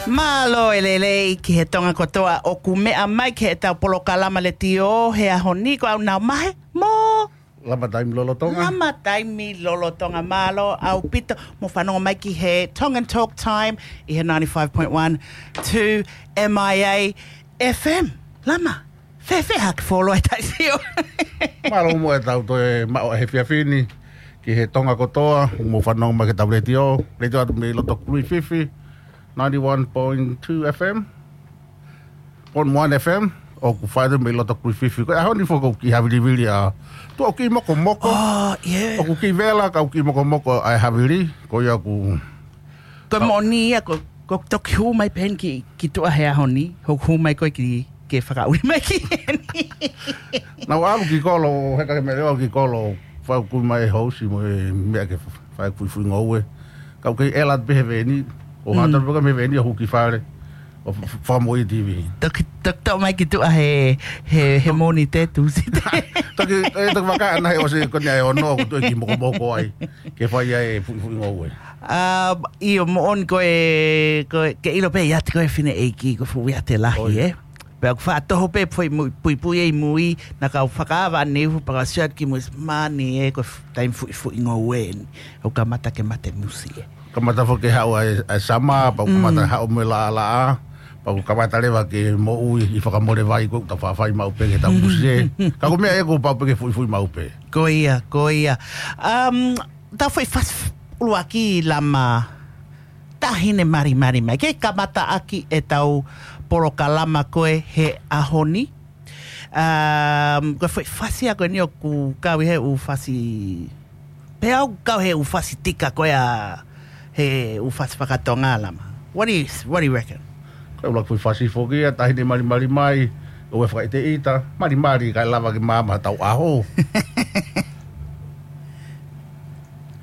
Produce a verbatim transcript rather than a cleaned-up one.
Mālō e lelei ki he Tonga kotoa ʻoku meʻa mai ki heʻetau polokalama letiō he ʻaho ni, ko au Nau Mahe mo Lama Taimi Lolotonga. Lama Taimi Lolotonga, mālō ʻaupito. Mou fanongo mai ki he Tongan Talk Time ʻi he ninety-five point one two M I A F M. Lama, fēfē haʻaku foloa e taʻisio? Mālō muʻa ʻetau toe maʻu he efiafi ni ki he Tonga kotoa, mou fanongo mai ki heʻetau letiō, letiō atu mei loto Kruififi, ninety-one point two F M, point one F M, ʻoku fai atu mei loto Kruififi. Ko e ʻaho ni foki ʻoku kiʻi havilivili ʻa, tuʻa ʻoku kiʻi mokomoko. Oh, yeah. ʻOku kiʻi vela, ka ʻoku kiʻi mokomoko ʻa e havili, ko ia ʻoku Ko e moʻoni ia, ko, ko e toki hū mai pē heni ki, ki tuʻa he ʻaho ni, hoʻo hū mai ko ē ki, ke fakaʻuli mai ki heni. Naʻá ku ʻalu ki kolo, he ka ke mele ʻalu ki kolo, fai kui mai e housi mo e meʻa ke fai fuifui ngoue. Ka ʻoku kei ʻela pē he veni, ʻo Mm. hata pē ka mei he veni ʻo hū ki fale, ʻo f-, f-, fakamoʻui T V. Toki, toki toʻo mai ki tuʻa he, he, he Mōnite Tūsite. Toki, e, toki vaka ana he ʻosi ko eni ʻa e ono ʻoku toe kiʻi mokomoko ai, ke fai ai e fuifui ngoue. Um, ʻio, moʻoni ko e, ko e, ke ʻilo pē ʻiate koe fineʻeiki, ko e fuʻu ʻiate lahi, ʻOi. ē? Pea ʻoku faʻa toho pē foʻi mui, puipui ʻi mui, naʻa ku fakaava ʻaneuhu pea ka sio atu ki mui, māni ē, ko e f-, taimi fuifui ngoue eni. ʻOku kamata ke mate musi ē. Kamata foki ke haʻu ʻa e, ʻa e summer, pea ʻoku Mm. kamata haʻu mo e laʻalaʻā, pea ʻoku kamata leva ke moʻui ʻi fakamole vai ko ē ʻoku tau faʻa fai maʻu pē ke tau musi ē. Ka ko e meʻa ē kuo pau pē ke fuifui maʻu pē. Ko ia, ko ia. Um, ʻetau foʻi fasi ʻuluaki Lama, Taʻahine Malimali Mai. Ke kamata ʻaki ʻetau polokalama ko ē he ʻaho ni. Um, ko e foʻi fasi ia ko eni ʻoku kau ʻi he ʻū fasi, pea ʻoku kau he ʻū fasi tika ko ia he ʻū fasi fakatonga, Lama. What do you, what do you reckon? Ko e ʻuluaki foʻi fasi foki ia, Taʻahine Malimali Mai, ʻoua ʻe fakaʻiteʻita, malimali kae lava ke maama hotau ʻaho.